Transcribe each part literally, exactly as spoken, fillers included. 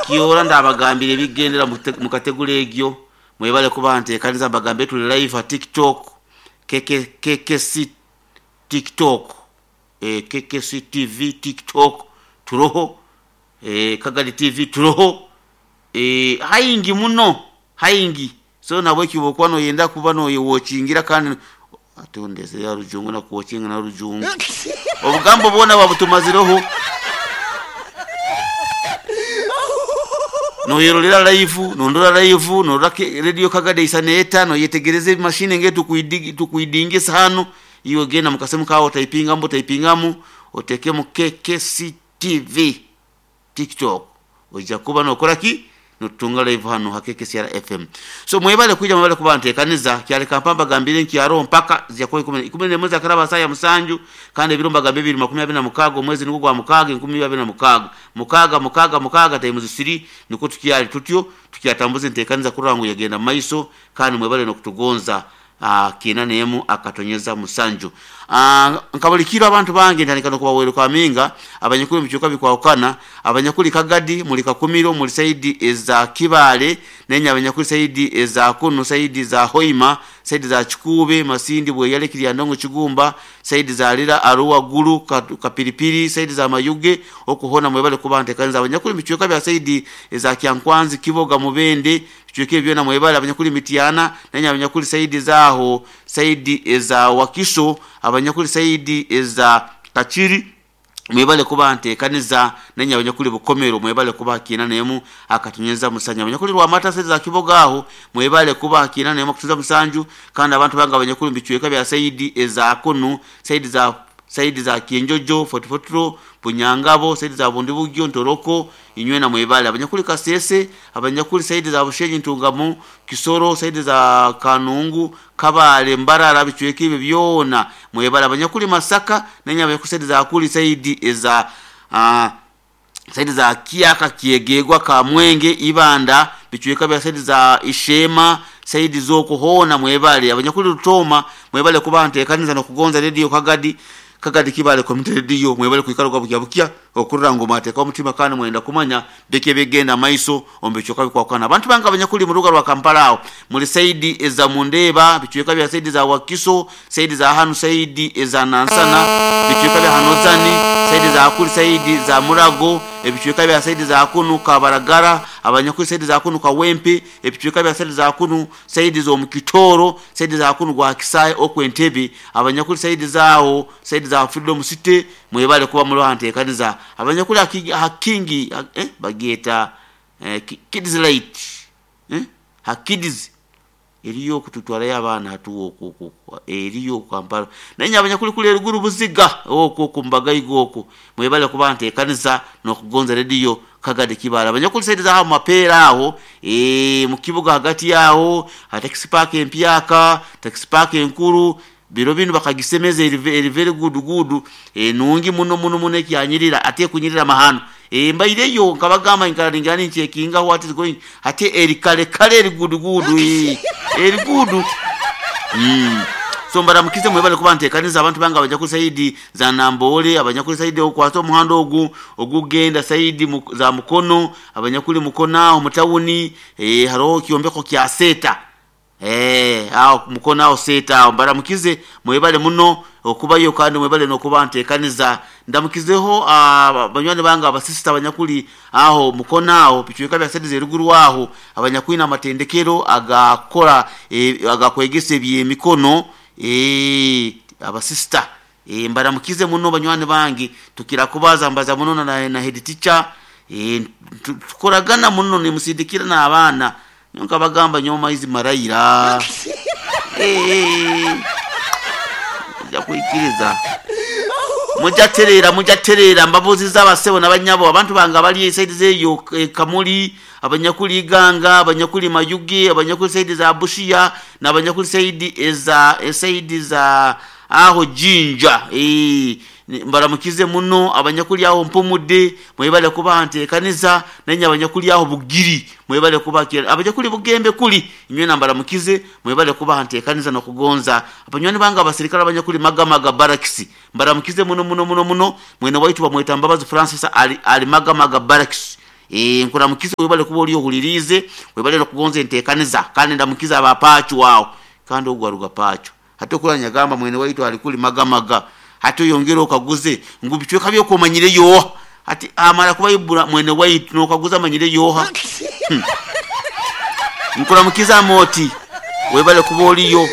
Kiora ndabagambire ebigendera mu kategori egyo. Mwebale kuba nteekaniza, mbagambe tuli live ha TikTok, K K C TikTok, eh, K K C T V TikTok turoho, eh, Kagadi T V turoho, eh, haingi muno haingi. So nabwe kibokuba noyenda kuba noyewatchingira kandi atondeze ya rujungu na kuwatchinga na rujungu obugambo bwona babutumazireho. Noyerolera live, nondora live, norora radio Kagadi isaneta, noyetegereze machine nge tukuidigi, tukuidingisa hano. Iyo genda mukasemu kawo typinga mbo typingamu oteke mu K K C T V TikTok ojja kuba nokora ki notunga live hano ha K K C R F M. So mwebale kuja, mwebale kuba ntekaniza kyale kampamba gambire nkyaro mpaka zya kwa ikumi, ikumi n'emwe za karaba saya musanju kandi ebiro mbagambe bibiri makumi abiri na mukaga omwezi nigwo gwa mukaga enkumi abiri na mukaga mukaga mukaga mukaga time zisiri niko tukyali tutyo tukyatambuza ntekaniza kurangu yagenda maiso kandi mwebale nokutugonza. Ah, kina nemu akatonyeza musanju. Ah, nkabulikira abantu bange ntandika no kubawero kwa minga abanyakuli mucyuka bikwakana abanyakuli Kagadi muri Kakumiro muri saidi eza Kibale nenya abanyakuli saidi eza Kunu saidi za Hoima saidi za Chikube Masindi Bweyale Kiryandongo Kigumba saidi za Lira Arua Gulu Kapiripiri saidi za Mayuge okuhona mwebale kubante kanza abanyakuli micyuka bya saidi eza Kyankwanzi Kiboga Mubende micyuka byona mwebale abanyakuli Mitiana nenya abanyakuli saidi za aho saidi eza Wakiso abanyakuli saidi eza Kachiri mwebale kuba ntekaniza nenya abanyakuli Bukomero mwebale kuba kina nemu akatunyeza musanya abanyakuli Rwamata saidi za Kiboga aho mwebale kuba kina nemu akutuza musanju kandi abantu banga abanyakuli mbichweka bya saidi eza Kunu saidi za saidi za Kienjojo Fotofotro Bunyangabo saidi za Bundibugyo Ntoroko inywe na mwebale abanyakuli Kasese abanyakuli saidi za Bushenyi Ntungamo Kisoro saidi za Kanungu Kabale Mbarara bichweka ibi byona mwebale abanyakuli Masaka nenya abanyakuli saidi za Kuli saidi eza uh, saidi za Kiaka Kiegegwa Kamwenge Ibanda bichweka bya saidi za Ishema saidi zokuhona mwebale abanyakuli Rutoma mwebale kuba ntekaniza no kugonza radio Kagadi Kagadi Kibale community radio mwebale kuikalo kwa bukia bukia okurra ngoma ateka omutima kandi mwenda kumanya beke begenda maiso ombechoka bikwakana abantu banga abanyakuli mu ruga rwa Kampala aho muri saidi eza Mundeba bichweka bya saidi za Wakiso saidi za Hanu saidi eza Nansana bichweka bya Hanozani saidi za Akuli saidi za Murago ebichweka bya saidi za Kunu Kabaragara abanyakuli saidi za Kunu Kawempe ebichweka bya saidi za Kunu saidi zo Mukitoro saidi za Kunu gwa Kisai okwentebe abanyakuli saidi zao saidi za Freedom City mwebale kuba muri hantekaniza abanyakuli hakingi eh bageta eh, kids light eh ha kids eriyo kututwala y'abaana hatuwo okwo eriyo Kampala naye abanyakuli kuli eruguru buziga okwo kumbaga igoko mwebale kuba ntekaniza nokugonza radio Kagadi Kibale abanyakuli saidi za mapera aho eh mu kibuga hagati yaho ha taxi park empyaka taxi park enkuru biro binu bakagisemeza eri very good good e, nungi muno muno muno kyanyirira ate kunyirira mahano e, mbaireyo nkabagamba nkaringana nchekinga what is going ate eri kale kale eri good good e, eri good mm. So mbaramukize mwebale kuba ntekaniza abantu banga abanyakuli saidi za Nambole abanyakuli saidi okwata omuhando ogu ogugenda saidi mu, za Mukono abanyakuli Mukono aho mutawuni e, haro kyombeko kya seta eh aho Mukono aho seta mbaramukize mwebale muno okubayo kandi mwebale nokuba ntekaniza ndamukizeho abanywani banga abasista abanyakuli aho Mukono aho bichweka bya saidi zeruguru aho abanyakuli namatendekero agakora e, agakwegesa ebyemikono eh abasista eh mbaramukize muno banywani bangi tukira kubaza mbaza muno na, na head teacher eh tukoragana muno ni musindikira na abana nyonka bagamba nyoma hizi marayira eh ja kuikiriza mujaterera mujaterera mbabuzi z'abasebo n'abanyabo abantu banga bali saidi zeyo e, Kamuli abanyakuli Iganga abanyakuli Mayuge abanyakuli saidi za Bushia n'abanyakuli saidi eza saidi za aho Jinja eh mbaramukize muno abanyakuli aho Mpumude mwebale kuba ntekaniza nenya abanyakuli aho Bugiri mwebale kuba abanyakuli Bugembe kuli inywe nambaramukize mwebale kuba ntekaniza no kugonza abanywani banga abasirikale abanyakuli Magamaga Barracks mbaramukize muno muno muno muno mwene waitu bamweta Mbabazi Francis ali, ali Magamaga Barracks e, nkuramukize webale kuba oli ohulirize, webale nokugonza enteekaniza, kandi ndamukiza abapachu wao kandi ogwaruga pachu hati okura nyagamba mwene waitu alikuli magamaga hati oyongera okaguze ngu bicweka byokumanyire yoha hati amara kuba ibura mwene waitu nokaguza amanyire yoha. hmm. Nkuramukiza moti webale kuba oliyo,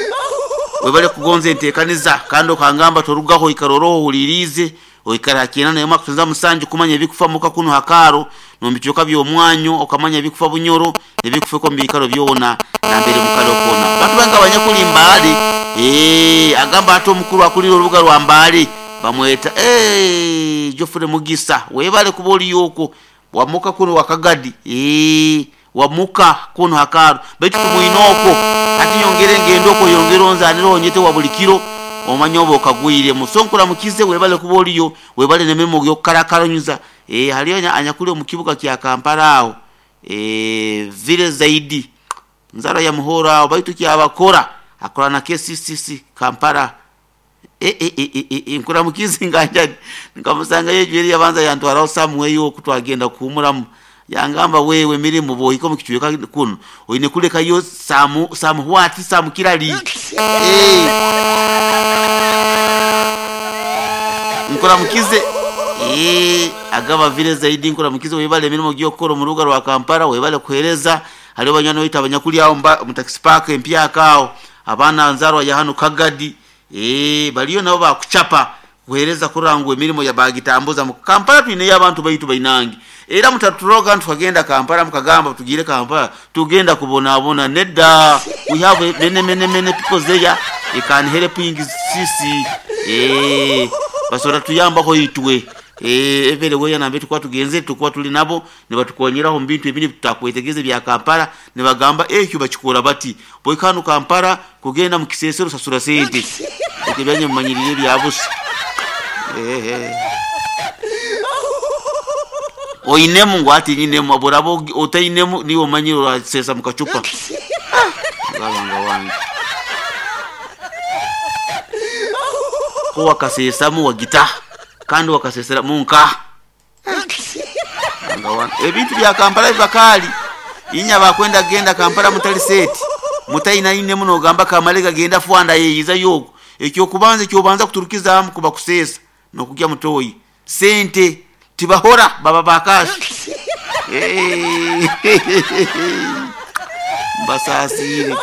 webale kugonza enteekaniza kandi okangamba torugaho ikaroroho ohulirize oikara kiena nayo makutunza musanju kumanya ebikufa muka kuno hakaro nombichoka byomwanyo okamanya ebikufa Bunyoro ebikufa ko mbikaro byona nambere mukalo kona bantu banga abanyakuli Mbale. Eh agamba ato omukuru akulira orubuga rwa Mbale bamweta eh Geoffrey Mugisa webale kuba oliyoko wamuka kuno wakagadi eh wamuka kuno hakaro baitu tumuinoko ati yongere ngendo ko yongere onzaniro onyete wa bulikiro omanya obo okagwire musonkura mukize webale kuba oliyo webale nememo yokukarakanyuza. Eh haliyo anyakuli omukibuga kya Kampala aho eh vile zaidi nzara ya muhora aho baitu kyabakora akora na K C C C Kampala. E e e e, e nkura mukize nganja nkamusanga yejweri yabanza yantwara Samuel okutwagenda kuhumuramu yangamba wewe mirimu boyiko mukichweka kuno oyine kuleka yo samu samu wati samu kirali. Eh nkura mukize eh agaba vile zaidi nkura mukize webale mirimo gyokoro mu rubuga rwa Kampala webale kuhereza haliyo banywana wita abanyakuli aho mu taxi park empyaka aho abana nzarwa ya hano Kagadi eh baliyo nabo bakuchapa kuhereza kurangwe mirimo ya bagitambuza mu Kampala twine y'abantu baitu bainangi era mutaturoga tukagenda Kampala mukagamba tugire Kampala tugenda kubonabona nedda we have many many many people there it can help sisi eh basora tuyamba itwe eh evere weya nambe tukwa tugenze tukwa tuli nabo ne batukonyeraho mbintu ebindi tutakwetegeze bya Kampala ne bagamba ekyo bakikora bati boikanu Kampala kugenda mu kisesero sasura sente ekyanye mumanyirire bya busa eh eh oinemu ngwati nyinemu aborabo otainemu niwo manyiro sesa mukachupa ngabanga wange ko wakasesamu wagita kandi wakasesera munka ngawana ebintu bya Kampala bibakali inya bakwenda genda Kampala mutali seti mutaina ine muno gamba kamalega genda fuanda yeyiza yogo ekyo kubanza ekyo banza kuturukiza amu kuba kusesa nokujya mutoyi sente tibahora baba bakashi eh basasire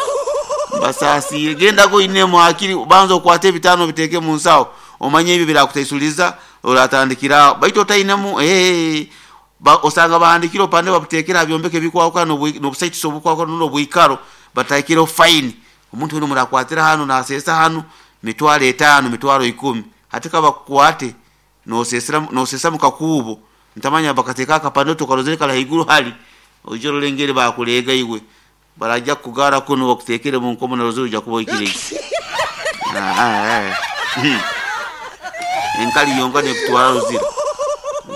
basasire genda go ine muakiri banza okwate ebitano biteke mu nsawo omanye ebyo birakutaisuliza oratandikira baito tainemu eh ba osanga bahandikiro pande babutekera byombeke bikwauka no no busite sobukwauka no bwikaro batakiro fine omuntu uno murakwatira hano nasesa hano mitwalo etano mitwalo ikumi hatika bakwate no sesera no sesa mukakubo ntamanya bakateka akapande tukarozere kala higuru hali ojoro lengere bakulega iwe barajya kugara kuno bakutekere mu nkomo na rozuru ja kuboikire ah ah enkali yonga ne kutwara ruzira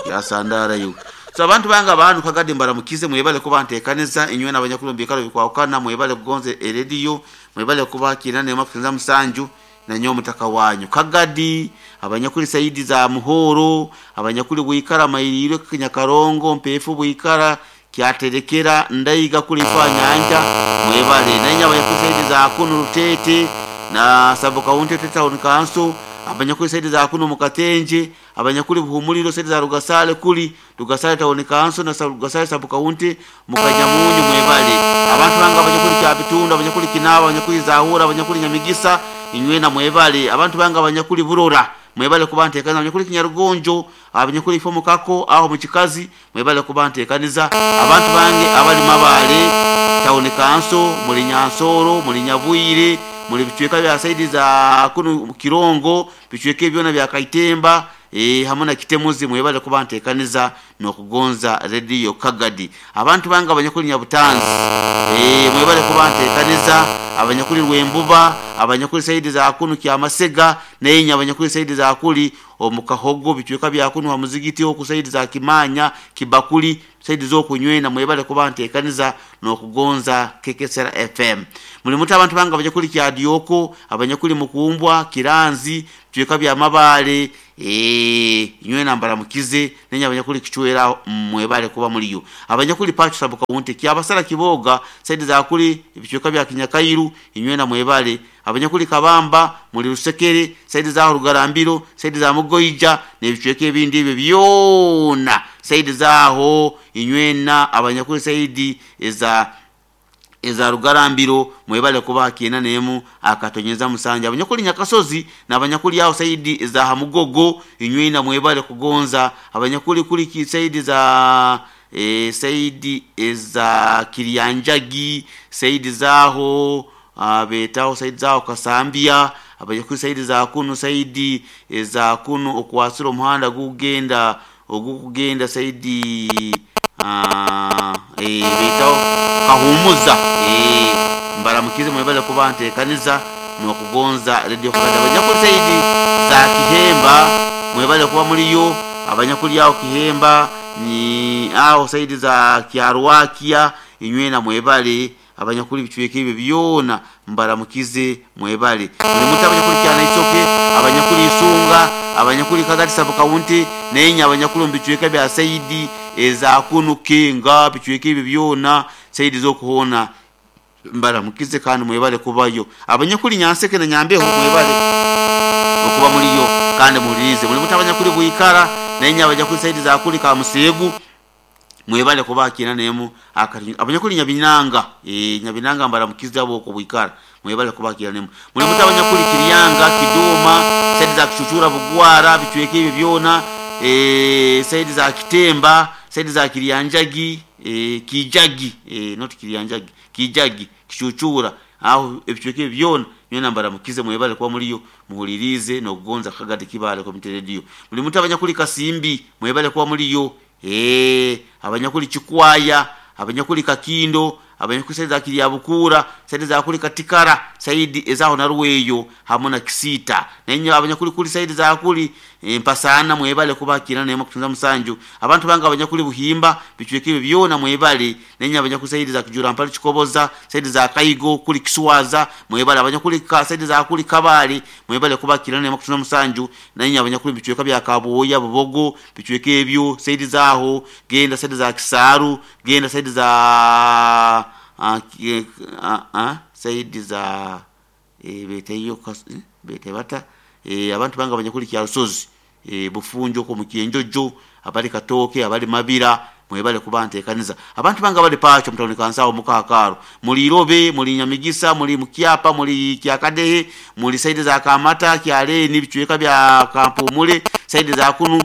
yasandara yo. So abantu banga abantu Kagadi mbaramukize mwebale kuba ntekaneza inywe n'abanyakuru mbikaro bikwakana mwebale kugonze radio mwebale kubakira ne makutenza musanju na nyo mutaka wanyu Kagadi abanyakuri saidi za Muhoro abanyakuri bwikara mayiriro Kinyakarongo mpefu bwikara kyaterekera ndaiga kuli nyanja mwebale nanya abanyakuri saidi za kuno Rutete na Sabo County Town Council abanyakuri saidi za kuno Mukatenje abanyakuri Buhumuliro saidi za Rugasale kuli Rugasale Town Council na Rugasale Sabo County Mukanyamunyu mwebale abantu banga abanyakuri Kyabitunda abanyakuri Kinaba abanyakuri Zahura abanyakuri Nyamigisa inywe na mwebale abantu banga abanyakuri Burora mwebale kubantekaniza abanyakuri Kinyarugonjo abanyakuri Ifomo kako aho mu Kikazi mwebale kubantekaniza abantu bange abali Mabale Town Council muri Nyansoro muri Nyabwire muri bicweka bya saidi za kuno Kirongo bicweke byona bya Kaitemba eh hamwe na Kitemuzi mwebale kubantekaniza no kugonza radio Kagadi abantu banga abanyakuri Nyabutanzi eh mwebale kubantekaniza abanyakuri Rwembuba abanyakuri saidi za kuno Kyamasega nenya abanyakuri saidi za kuli omukahogo bicweka bya kuno ha muzigiti ho ku saidi za Kimanya Kibakuli saidi z'okunywena mwebale kuba nteekaniza n'okugonza K K S R F M. Muli muti abantu bange abanyakuli Kyadyoko, abanyakuli Mukumbwa, Kiranzi, bicweka bya Mabaale, eh nywena mbaramukize nenya abanyakuli Kichwera mwebale kuba muliyo. Abanyakuli Pacho sabuka wunte Kyabasala Kiboga saidi za kuli bicweka bya Kinyakairu inywena mwebale. Abanyakuli Kabamba muli Rusekere saidi za Rugarambiro saidi za Mugoija n'ebicweka ebindi ebyo byona saidi zaho inywena abanyakuli saidi eza eza Rugarambiro mwebale kuba kiena nemu akatonyeza musanja. Abanyakuli Nyakasozi n'abanyakuli aho saidi za Hamugogo inywena mwebale kugonza. Abanyakuli kuli ki saidi za e, saidi za Kirianjagi saidi zaho abetaho saidi zaho Kasambia. Abanyakuli saidi za kunu saidi za kunu okwasira omuhanda gugenda ogukugenda saidi ah eh betaho Kahumuza eh mbaramukize mwebale kuba nteekaniza n'okugonza radio Kagadi. Abanyakuli saidi za Kihemba mwebale kuba muliyo. Abanyakuli aho Kihemba ni aho saidi za Kyarwakia inywena mwebale. Abanyakuli bicweka ebyo byona mbaramukize mwebale. Muli muti abanyakuli Kyana Isoke, abanyakuli Isunga, abanyakuli Kagadi sub county nenya abanyakuli mu bicweka bya saidi eza kunu Kenga bicweka ebyo byona saidi z'okuhona mbaramukize kandi mwebale kubayo. Abanyakuli Nyanseke na Nyambeho mwebale okuba muliyo kandi muhulirize. Muli muti abanyakuli Bwikara nenya abanyakuli saidi za kuli Kamusegu mwebale kuba kina nemu akati. Abanyakuli Nyabinanga eh Nyabinanga mbaramukize abo ko Bwikara mwebale kuba kina nemu. Muli muti abanyakuli Kiryanga Kiduma saidi za Kishushura Bugwara bicweka ebyo byona eh saidi za Kitemba saidi za Kiryanjagi eh Kijagi eh not Kiryanjagi Kijagi Kishushura aho ebicweka ebyo byona nyona mbaramukize mwebale kuba muliyo muhulirize n'okugonza Kagadi Kibaale Community Radio. Muli muti abanyakuli Kasimbi mwebale kuba muliyo eh abanyakuli Chikwaya, abanyakuli Kakindo, abanyakuli saidi za Kiryabukura saidi za kuli Katikara saidi ezaho na Ruweyo hamwe na Kisita nenyo abanyakuli kuli saidi za kuli e, Mpasana mwebale kuba kina nemo kutunza musanju. Abantu banga abanyakuli Buhimba bicweka ebyo byona mwebale nenyo abanyakuli saidi za Kijura Mpali Chikoboza saidi za Kaigo kuli Kiswaza mwebale. Abanyakuli ka saidi za kuli Kabali mwebale kuba kina nemo kutunza musanju nenyo abanyakuli bicweka bya Kaboya Bubogo bicweka ebyo saidi zaho genda saidi za Kisaru genda saidi za ah ah saidi za e, beteyo bete bata e, abantu banga abanyakuli Kyarusozi e, Bufunjo ko Mukienjojo abali Katoke abali Mabira mwebale kuba nteekaniza. Abantu banga bali Pacho mutawuni Kansawo Mukakaro muli Irobe muli Nyamigisa muli Mukyapa muli Kyakadehe muli saidi za Kamata Kyaleni bicweka bya Kampumule saidi za kunu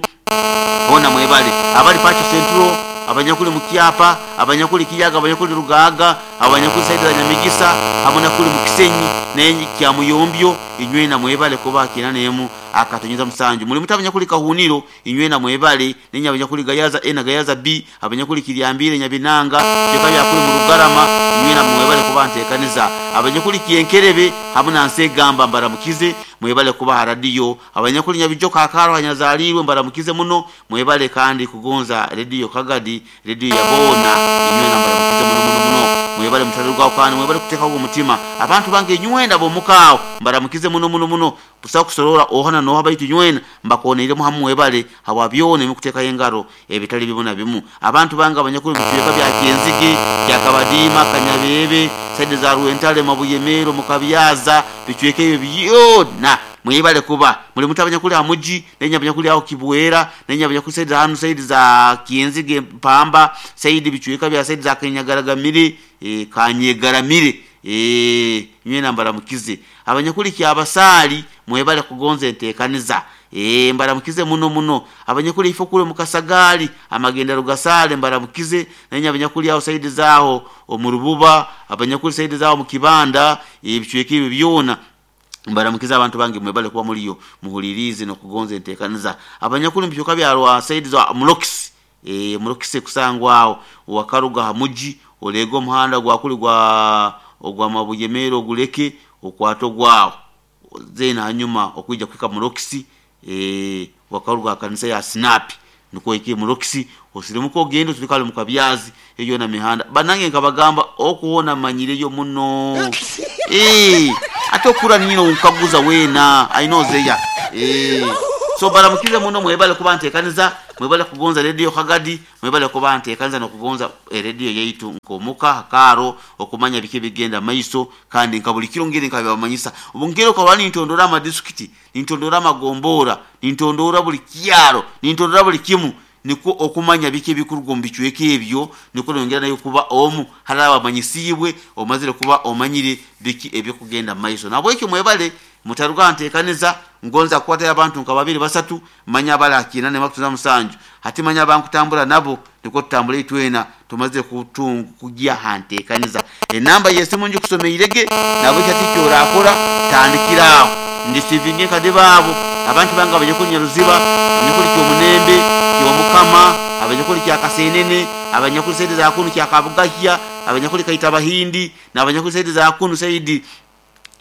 ona mwebale. Abali Pacho Central abanyakuli Mukyapa, abanyakuli Kiyaga, abanyakuli Rugaga, abanyakuli saidi za Nyamigisa hamwe nakuli Mukisenyi nenyi kya Muyombyo inywena mwebale kuba kina nemu akatonyeza musanju. Muli muti abanyakuli Kahuniro inywena mwebale nenya abanyakuli Gayaza A na Gayaza B, abanyakuli Kiryambire Nyabinanga bicweka bya kuli Murugarama inywena mwebale kuba nteekaniza. Abanyakuli Kienkerebe hamwe na Nsegamba mbaramukize mwebale kuba radio. Abanyakuli Nyabijoka Akaro hanyazalirwe mbaramukize muno mwebale kandi kugonza radio Kagadi radio ya bona inywena mbaramukize muno muno muno mwebale mutalirwa kandi mwebale kuteka uwo mutima. Abantu bange nywenda bo mukao mbaramukize muno muno muno busa kusorora ohana no habayitu nywena mbakoneire muhamu mwebale hawabyone mukuteka engaro ebitali bibona bimu. Abantu bange abanyakuli bicweka bya Kienzige kya Kabadima Kanyabebe saidi za Ruwentale Mabuyemero Mukabyaza bicweka ebyo byona mwebale kuba muli muti abanyakuli Amuji nenya abanyakuli aho Kibuera nenya abanyakuli saidi za hanu saidi za Kienzige Mpamba saidi bicweka bya saidi za Kanyagaragaramire e, Kanyegaramire eh nywena mbaramukize. Abanyakuli Kyabasali mwebale kugonza enteekaniza eh mbaramukize muno muno. Abanyakuli ifo kule Mukasagali amagenda Rugasale mbaramukize nenya abanyakuli aho saidi zaho omurububa abanyakuli saidi zaho mukibanda ebicweka ebyo byona mbaramukiza abantu bange mwebale kuba muliyo muhulirize no kugonza enteekaniza. Abanyakuli mbicweka bya Rwa saidi za Mulokisi eh Mulokisi kusangwa wakaruga hamuji olego omuhanda gwa kuli gwa ogwa Mabuyemero oguleke okwato gwawo zena hanyuma okwijja kwika Mulokisi eh wakaruga kanisa ya Snap Nukwo ike murokisi osirimuka ogende tulikale mu kabyazi eyo na mihanda banange nkabagamba okuwona manyireyo muno eh ate okura nino nkaguza wena ainozeya eh so baramukize muno mwebale kuba ntekaniza mwebale kugonza radio Kagadi mwebale kuba ntekaniza nokugonza radio yaitu nkomuka hakaro okumanya bike bigenda maiso kandi nkabuli kiro ngere nkabamanyisa obungero kawani ntondora amadiskiti ntondora amagombora ntondora buli kyaro ntondora buli kimu niko okumanya bike bikurugo mbichweke ebyo niko nongera nayo kuba omu haraba manyisibwe omazire kuba omanyire biki ebyo kugenda maiso nabwekyo mwebale mutaruga ntekaniza ngonza kwata abantu nka babiri basatu manya bala kinane makutuza musanju hati manya bankutambula nabo niko tutambula itwena tumaze kutunga kujya hantekaniza enamba yesimu nje kusomeirege nabwekyo ati orakora tandikiraho ndisivinge kade babo abantu banga abanyakuli Nyaruziba abanyakuli Kyomunembe Kyomukama abanyakuli Kyakasenene abanyakuli saidi za kunu Kyakabugahya abanyakuli Kaita Bahindi na abanyakuli saidi za kunu saidi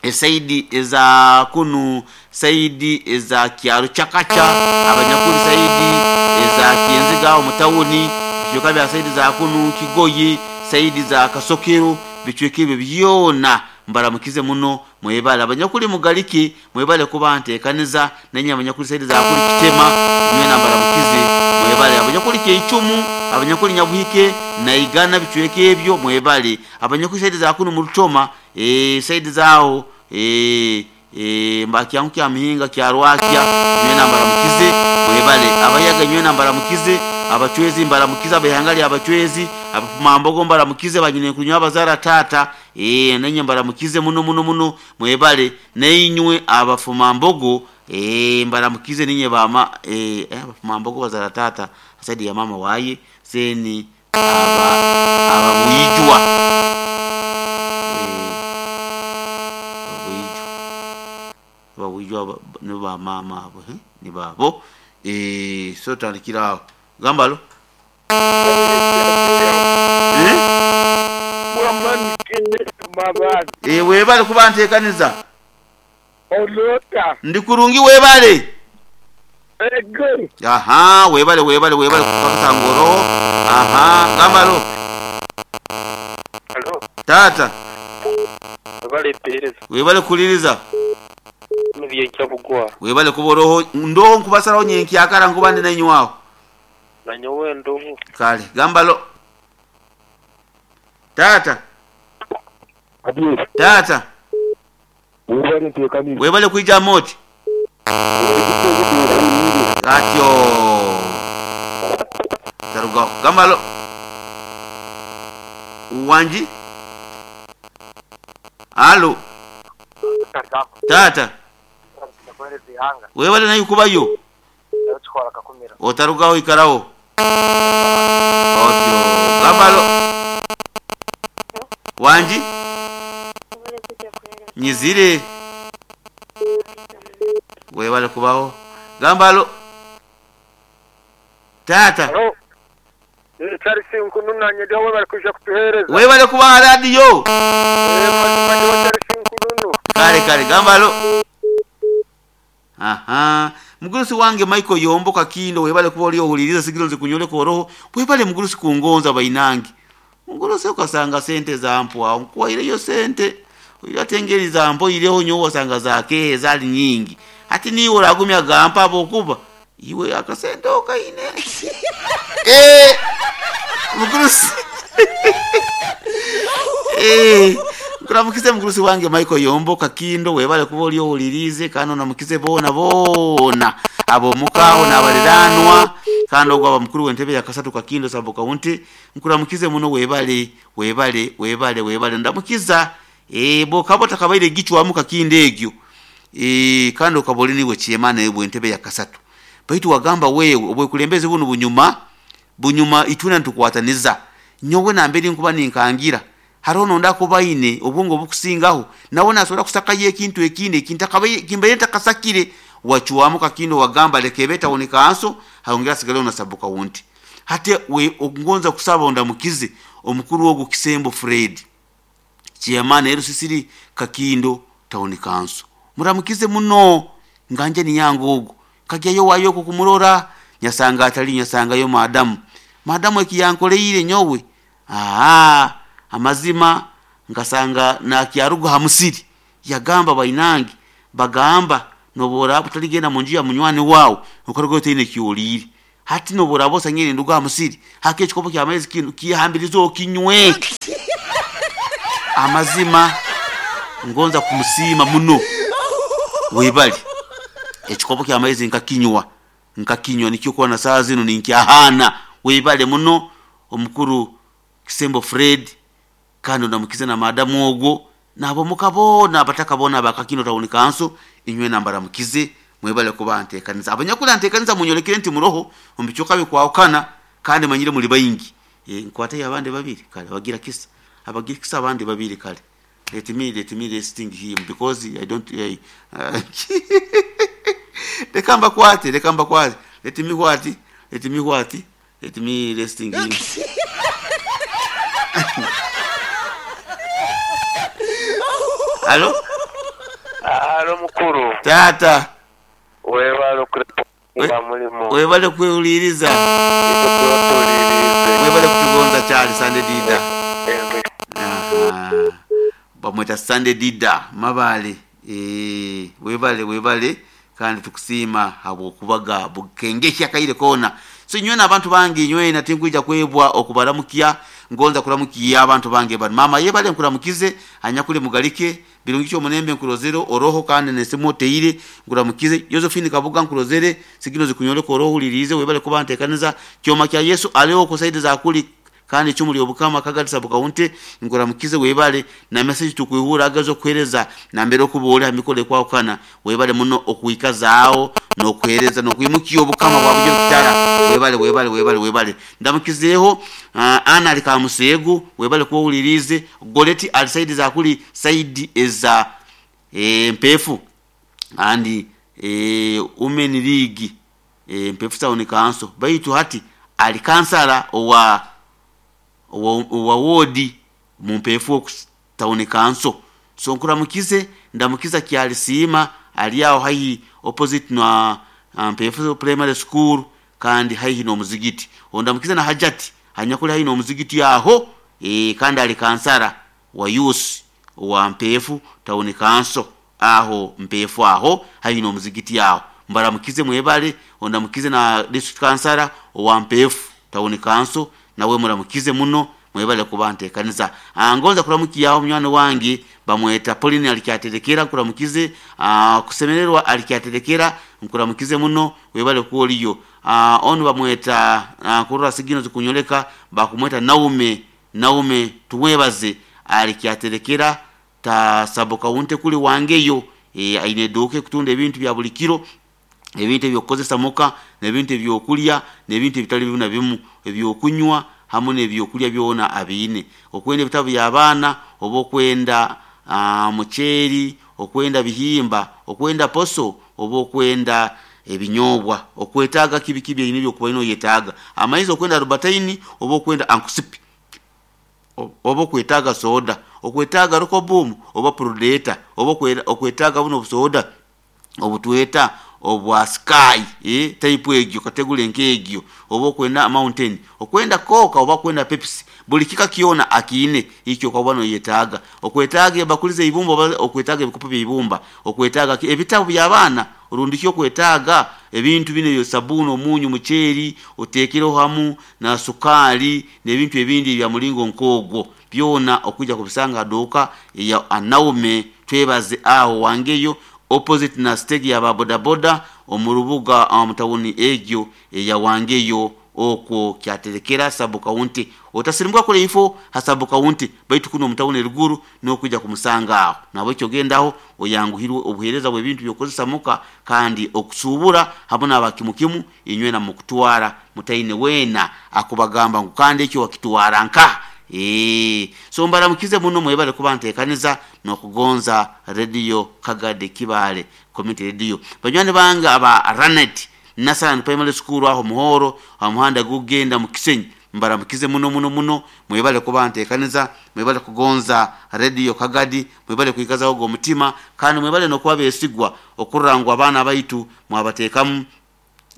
esaidi eza kunu saidi eza Kyaro Chakacha abanyakuli saidi eza Kienziga omutawuni bichoka bya saidi za kunu Kigoye saidi za Kasokero bichweke ebyo byona mbaramukize muno mwebale abanyakuli mugaliki mwebale kuba ntekaniza nenya abanyakuli saidi za kuli Kitema mwena mbaramukize mwebale abanyakuli Keichumu abanyakuli Nyabuhike na Igana bichweke ebyo mwebale abanyakuli saidi za kunu Murutoma eh saidi zao eh eh mbakyangu kya mihinga kya Rwakya mwena mbaramukize mwebale abayaga nywena mbaramukize abachwezi mbaramukize abahangali abachwezi abapumambogo mbaramukize banyine kunywa abazara tata eh nenye mbaramukize muno muno muno mwebale neinywe abafumambogo eh mbaramukize ninye bama eh abafumambogo bazara tata saidi ya mama waye seni aba ababuyijwa eh ababuyijwa ababuyijwa ni ba mama abo eh ni babo eh so tandikiraho gambalo eh eh webale kuba ntekaniza olota ndikurungi webale ego aha webale webale webale kupakasa ngoro aha gambalo alo tata webale pereza webale kuliriza nibye kyabugwa webale kuboroho ndo nkubasaraho nyenkyakara nkubande nenywaho nanyowe ndoho kale gambalo tata adiye tata webale ntekaniza webale kuija moti atyo tarugaho gambalo wanji alo tata webale nayo kubayo otarugaho ikaraho otyo gambalo wanji nyizire webale kubaho gambalo tata alo Charles Nkununu nyedeho webale kuja kutuhereza webale kubaha radio eh mazima ndiho Charles Nkununu kale kale gambalo aha mugurusi wange Michael Yombo Kakindo webale kuba oli ohuliriza sigiro nze kunyoleka oroho webale mugurusi kungonza bainange mugurusi ukasanga sente zampwa nkuwaireyo sente atengeri zampo ireho nyowe wasanga zake zali nyingi ati niwe oragumya gampa abokuba iwe akasente okaine eh mugurusi eh nkuramukize mugurusi wange Michael Yombo Kakindo webale kuba oli ohulirize kandi onamukize boona boona abomukaho n'abaliranwa kandi ogwo aba mukuru w'entebe ya kasatu Kakindo sabo kaunti nkuramukize muno webale webale webale webale ndamukiza eh bo kabo takabaire gichwamu Kakindo egyo eh kandi okaboli niwe chiemana ebwe entebe ya kasatu baitu wagamba wewe obwekulembeze buno bunyuma bunyuma ituna ntukwataniza nyowe namberi nkuba ninkangira hariho nonda kubaine obwongo bukusingaho nawe nasobola kusakayo ekintu ekindi ekintakabaye kimbaye ntakasakire wachuamu Kakindo wagamba lekebeta oneka haongera sigale onasabuka wunti hate we okungonza kusaba ondamukize omukuru wogu Kisembo Fred chairman L C C Kakindo town council muramukize muno nganje ni yangu ogo kajyayo wayo kumurora Nyasanga atali nyasangayo madamu. Madamu ekiyankoleire nyowe aa amazima nkasanga nakyaruga ha musiri yagamba bainange bagamba nobora utaligenda munju ya munywani wawe okaruga otaine kyoliire hati nobora bosangire nduga ha musiri hake ekikopo kya maizi kinu kihambiriza okinywe. Amazima ngonza kumusiima muno webali ekikopo kya maizi nkakinywa nkakinywa nikyo kuba na saa zino ninkyahana webale muno omukuru Kisembo Fred kandi ndamukize na madamu ogwo nabo mukabona abatakabona bakakino tawuni kanso inywe nambara mukize mwebale kuba ntekanisa abanyakula ntekanisa munyolekere nti muroho omubichoka bikwawukana kandi manyire muli bayingi e, nkwate abandi babiri kale abagira kisa abagira kisa abandi babiri kale let me let me resting him because I don't uh, reka mbakwate reka mbakwate let me what let me what let me resting him. Alo? Alo mukuru. Tata. Webale kureponga mulimu. Webale kwehuliriza. Webale kutugonza Charles Sunday Dida. Aha. Bamweta Sunday Dida mabale. Eh, webale webale kandi tukusiima habwokubaga bukengeshya kaire kona. So nywena abantu bangi nywena tinkwija kwebwa okubaramukia ngonza kuramukia abantu bange bari mama yebale nkuramukize anyakule mugalike birungi cyo munembe nkurozero oroho kandi nesimo teire nkuramukize Josephine Kabuga nkurozere sigino zikunyole koroho ulirize webale kuba ntekaniza kyoma kya Yesu aleo kusaidi za kuli kandi chumuli obukama kagatisa bukaunte nkuramukize webale na message tukuihura agazo kuhereza na mbere okubole amikole kwa okana webale muno okuikazao no kuhereza no kuimukiyo obukama bwa bujyo kitara webale webale webale webale ndamukizeho uh, ana alikamusegu webale kuwulirize goleti alisaidi za kuli saidi eza e, mpefu andi e, women league e, mpefu town council baitu hati alikansala owa owa wodi mumpefu town council so nkuramukize ndamukiza kyalisiima ali awo haihi opposite na mpefu primary school kandi haihi n'omuzigiti ondamukize na hajati hanyakuli haihi n'omuzigiti aho e, kandi ali kansara wa youth wa mpefu town council aho mpefu aho haihi n'omuzigiti aho mbaramukize mwebale ondamukize na district kansara wa mpefu town council nawe muramukize muno mwebale kuba ntekanisa. Ngonza kuramukiyaho munywani wange bamweta Pauline alikyaterekera nkuramukize kusemererwa alikyaterekera nkuramukize muno webale kuoliyo onu bamweta kurura sigino zikunyoleka bakumweta Naume Naume tumwebaze alikyaterekera ta saboka unte kuli wangeyo e, aine duke kutunda ebintu bya buli kiro ebintu ebyokukozesa muka n'ebintu ebyokulya n'ebintu ebitali bimu na bimu ebyokunywa hamu n'ebyokulya byona abiine okwenda ebitabu by'abaana oba okwenda uh, muceeri okwenda bihimba okwenda poso oba okwenda ebinyobwa okwetaaga kibi kibi ebine ebyokuba ino oyetaaga amaizi okwenda rubataini oba okwenda ankusipi oba okwetaaga soda okwetaaga rokobumu oba prudeta oba okwetaaga buno obusoda obutweta obwa sky eh type egyo kategule nkegyo oba okwenda mountain okwenda coca oba kwenda Pepsi buli kika kiona akiine ikyo kwa bwano yetaaga okwetaaga bakulize ibumba oba okwetaaga ebikopo by'ibumba okwetaaga ebitabo by'abaana orundikyo okwetaaga ebintu bino byo sabuni omunyu muceeri oteekereho hamu na sukali n'ebintu ebindi bya mulingo nkogwo byona okujja kubisanga duka ya Anaume twebaze aho wangeyo opposite na stage ya boda omurubuga omutawuni egyo eya wangeyo okwo kyaterekera sabu county otasirimuka kule ifo hasabu county baitu kuno omutawuni eruguru n'okujja kumusanga aho nabo ekyo gendaho oyanguhirwe obuhereza bw'ebintu byokozesa muka kandi okusubura hamwe n'abakimukimu inywe na mukutwara mutaine wena akubagamba ngu kandi ekyo wakitwara nka Eh, so mbaramukize muno mwebale kuba ntekaniza nokugonza radio Kagade Kibale community radio banywani banga aba Ranet Nasan Primary School aho muhoro amuhanda gugenda mu Kisenyi mbaramukize muno muno muno mwebale kuba ntekaniza mwebale kugonza radio Kagadi mwebale kuikazaho go mutima kandi mwebale nokuba besigwa okurangwa abana baitu mwabatekamu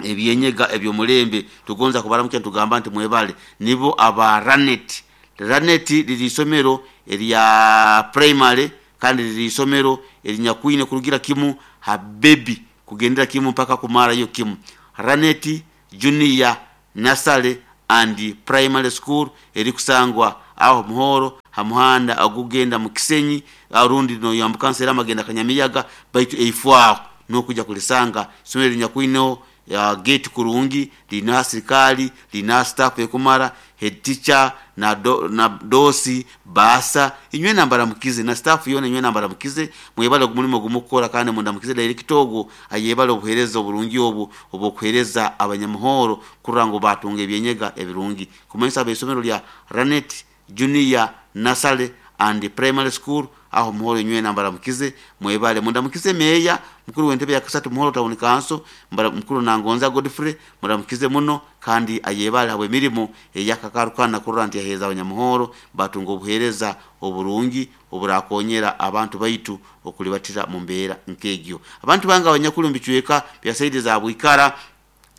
ebyenyega ebyomulembe. Tugonza kubaramukya tugamba nti mwebale nibo aba Ranet. Ranet liri isomero erya primary kandi liri isomero erinyakwine kurugira kimu ha baby kugendera kimu mpaka kumara yo kimu. Ranet Junior Nursery and Primary School erikusangwa aho Muhoro hamuhanda agugenda mu Kisenyi arundi no yambukansa amagenda Kanyamiyaga, baitu eifwaho nokuja kulisanga isomero erinyakwine ya gate kurungi, lina serikali, lina staff ekumara, head teacher na, do, na dosi basa inywe nambara mukize na staff yona inywe nambara mukize mwebale ogumulimo gumukora kandi mundamukize director ogo ayebale obuhereza oburungi obu obukuhereza abanyamuhoro kurango batunga ebyenyega ebirungi. Kumanyisa abesomero lya Ranet Junior Nursery and Primary School aho Muhoro inywe nambara mukize mwebale mundamukize meya mukuru w'entebe ya kasatu Muhoro Town Council mukuru Nangonza Godfrey muramukize muno kandi ayebale habwe mirimo eyakakarukana kurora nti yaheza abanyamuhoro batunga obuhereza oburungi oburakonyera abantu baitu okulibatira mu mbeera nkegyo. Abantu banga abanyakuru mbicweka bya saidi za Bwikara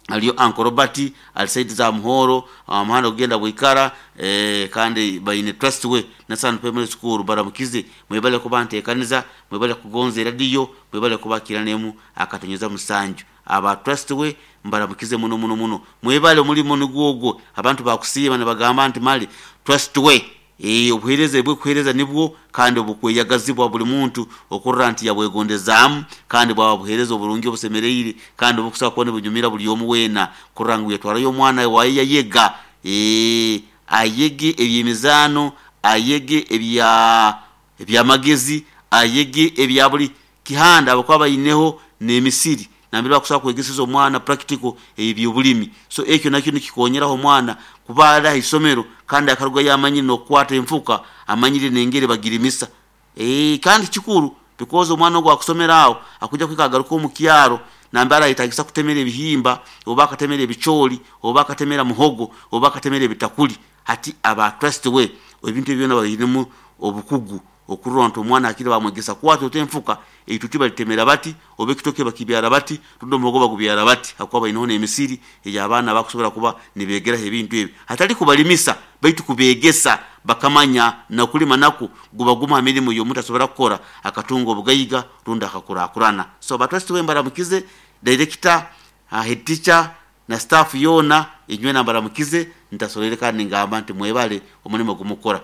aliyo Uncle Robert ali saidi za Muhoro amuhanda kugenda Bwikara eh, kandi bayine trust we na San Primary School baramukize mwebale kuba ntekaniza mwebale kugonza radio mwebale kubakiranemu akatonyeza musanju aba trust we mbaramukize muno muno muno mwebale mulimo nigwogo abantu bakusiba ne bagamba nti mali trust we eh obuhereza bwe kuhereza nibwo kandi obukweyagazibwa buli muntu okurra nti yabwegondezaamu kandi bwaba buhereza oburungi obusemereire kandi obukusaba kubona bunyumira buli omu weena kurra ngu yatwarayo omwana waye yayega eh ayege ebyemizano ayege ebya ebyamagezi ayege ebya buli kihanda abakuba bayineho n'emisiri nambere bakusaba kwegeseza omwana practical ebyobulimi. So ekyo nakyo nikikonyeraho omwana kubala isomero kandi akaruga yamanyire nokukwata enfuka amanyire nengere bagirimisa eh kandi kikuru because omwana ogwo akusomera aho akuja kwikagaruka omu kyaro nambara itagisa kutemera ebihimba oba akatemera ebicholi oba akatemera muhogo oba akatemera ebitakuli. Hati aba trust we ebintu byona bayinemu obukugu okurora nti omwana akiri bamwegesa kwata otenfuka eituti balitemera bati oba ekitoke bakibyara bati rundi omuhogo bagubyara bati hakuba bayineho n'emisiri ey'abaana bakusobola kuba nibegeraho ebintu ebi hatali kubalimisa baitu kubegesa bakamanya nakulima naku guba guma mirimu y'omuntu asobola kukora akatunga obugaiga rundi akakurakurana. So batrust we mbaramukize director uh, head teacher na staff yona inywe nambaramukize ntasolere kandi ngamba nti mwebale omulimo gumukora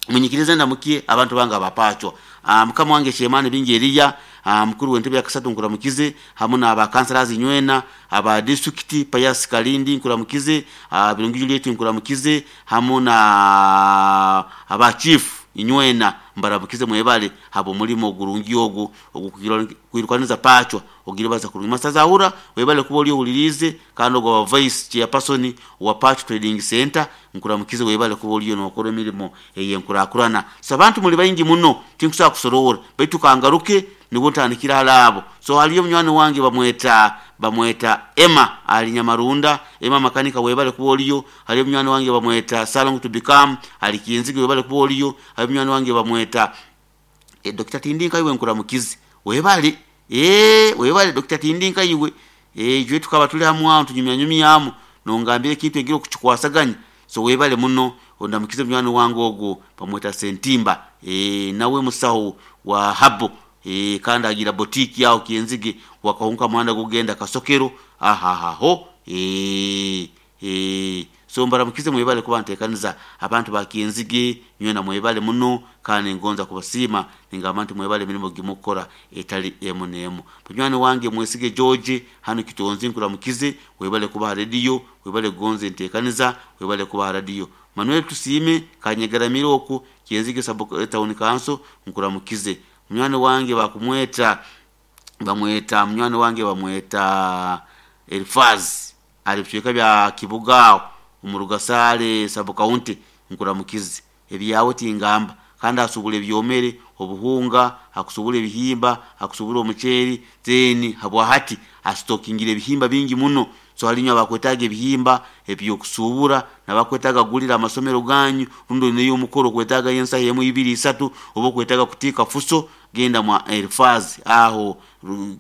munyikirize ndamukie abantu banga bapachwa uh, mukama wange Shemani bingi Eliya uh, mukuru w'entebe ya kasatu nkuramukize hamu n'aba councillors nywena aba district Payas Kalindi nkuramukize uh, Birungi Juliet nkuramukize hamu na aba chief inywena mbaramukize mwebale habo mulimo gurungi ogu ogukirwaniza pachwa ogiribaza kurungi masaza webale kuba oli ohulirize kandi ogwa vice chairperson wa Patch Trading Center nkuramukize webale kuba oliyo nokora emirimo eyenkurakurana. So abantu muli bayingi muno tinkusaba kusorora baitu kangaruke nibwo ntandikira halabo. So haliyo munywani wange bamweta bamweta Emma ali Nyamarunda Emma makanika webale kuba oliyo. Haliyo munywani wange bamweta Salong to become ali Kinzige webale kuba oliyo. Haliyo munywani wange bamweta e, Doctor Tindinka iwe nkuramukize webale eh webale Doctor Tindinka iwe eh jwe tukaba tuli hamwe aho tunyumya nyumyamu nongambire kintu engiro kukikwasaganya. So webale muno ondamukize munywani wange ogwo bamweta Sentimba eh nawe musaho wa habo eh kandi agira boutique yao Kienzige wakahunka muhanda gugenda Kasokero ahahaho eh eh so mbaramukize mwebale kuba ntekaniza abantu ba Kienzige nywe na mwebale muno kandi ngonza kubasima ningamba nti mwebale mirimo gimukora etali emu nemu. Munywani wange mwesige George hano kitonzi nkuramukize webale kuba radio webale gonze ntekaniza webale kuba radio. Manuel Tusime kanyegaramira oku Kienzige sub town council nkuramukize. Munywani wange bakumweta bamweta munywani wange bamweta Elfaz ali bicweka bya Kibugao umurugasale sub county nkuramukize ebyawe tingamba kandi asubula ebyomere obuhunga akusubula ebihimba akusubula omuceeri then habwa hati astokingire ebihimba bingi muno. So halinywa bakwetaga ebihimba ebyokusubura nabakwetaga gulira amasomero ganyu rundo neyo omukoro kwetaga yensa yemu ibiri isatu obo kwetaga kutika fuso genda mwa Elfaz aho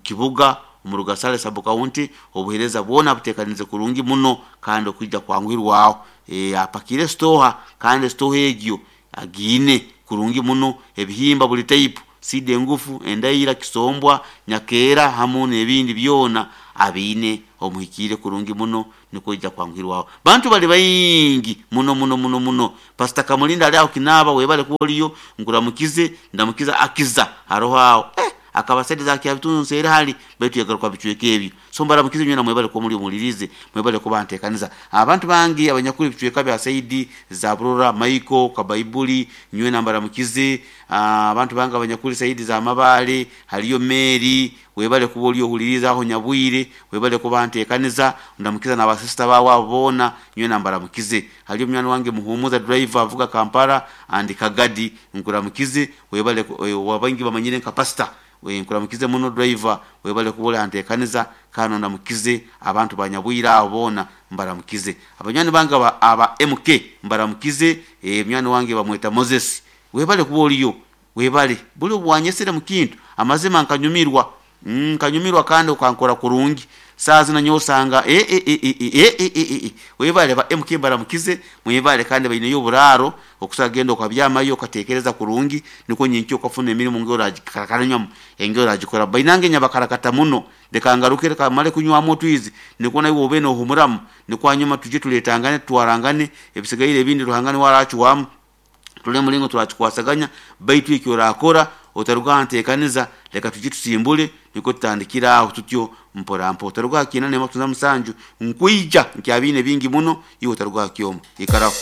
Kibuga Omu Rugasale sub county obuheereza bwona buteekanize kurungi muno kandi okwija kwanguhirwaho. E, apakire stoha kandi stoha egyo agiine kurungi muno, ebihimba buli type, sida engufu, endaira, kisombwa, nyakeera hamu n'ebindi byona abiine omuhikiire kurungi muno, nikwo ija kwanguhirwaho. Bantu bali baingi muno muno muno muno. Pastor Kamulinda ali aho Kinaaba, webale kuba oliyo, nkuramukize, ndamukiza akiza haroho aho eh, akabasaidiza za kyabitundu nseera hali baitu yagaruka bicweka ebyo. So mbaramukize nywena, mwebale kuba muri omulirize, mwebale kuba nteekaniza abantu bangi abanyakuli bicweka bya saidi za Burora, Maiko Kabaibuli, nywena mbaramukize. Ah, abantu bangi abanyakuli saidi za Mabale, haliyo Mary, webale kuba oli ohuliriza aho Nyabwire, webale kuba nteekaniza. Ndamukiza n'abasista bawe abo boona, nywena mbaramukize. Haliyo munywani wange Muhumuza driver avuga Kampala and Kagadi, nkuramukize, webale ku- eh, wabangi bamanyire nka pastor, we nkuramukize muno driver, webale kuba oli anteekaniza. Kano ndamukize abantu banyabwire abo boona, mbaramukize. Abanywani bange aba, aba M K mbaramukize. eh, munywani wange bamweta Moses, webale kuba oliyo, webale buli obwanyesere mu kintu amazima nkanyumirwa, Mm, nkanyumirwa kandi ukankora kurungi. Saa zino nyowe osanga e, e, e, e, e, e, e, e, e. Webale ba M K mbaramukize, mwebale kandi baineyo oburaaro okusobola genda okabyamayo okatekereza kurungi, nikwo nyenkya okafuna emirimu ng'oragikarakanywamu engeri oragikora. Bainange nyabakarakata muno, leka ngaruke, leka male kunywamu otwizi, nikwo naiwe obe nohumuramu, nikwo hanyuma tujye tuletangane tutwarangane ebisigaire ebindi Ruhanga niwe arakiwamu tule mulingo turakikwasaganya. Baitu ekyo orakora otaruga nteekaniza, leka tujye tusimbule, nikwo tutandikira aho tutyo mpora mpora. Otaruga ha kinana emakutuza musanju, nkwija nkyabiine bingi muno, iwe otaruga ha kyoma, ikaraho.